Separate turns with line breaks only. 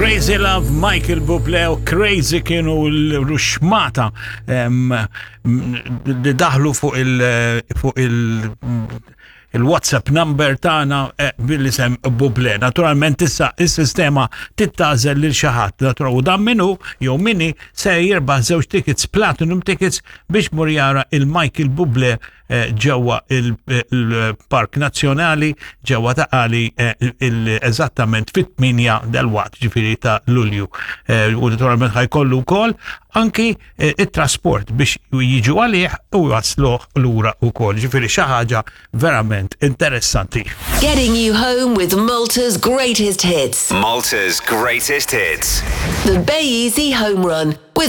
Crazy Love, Michael Bublé u Crazy kienu l-ruxmata li daħlu fuq il- fuq il- il-WhatsApp number tagħna eh, bil-isem Bublé. Naturalment issa is-sistema tittażel lil xi ħadd. U dan minnu jew minni se jirbaħ żewġ tickets platinum tickets biex mur jara il-Michael Bublé eh, ġewwa il-Park Nazzjonali ġewwa ta' Qali eh, eżattament fit-8 del-waqt ġifieri ta' Lulju. Eh, u naturalment ħajkollu wkoll anki it-trasport biex jiġu għalih u jasluh lura wkoll. Ġifieri xi ħaġa verament interessanti.
Getting you home with Malta's greatest hits.
Malta's greatest hits.
The Bay Easy Home Run with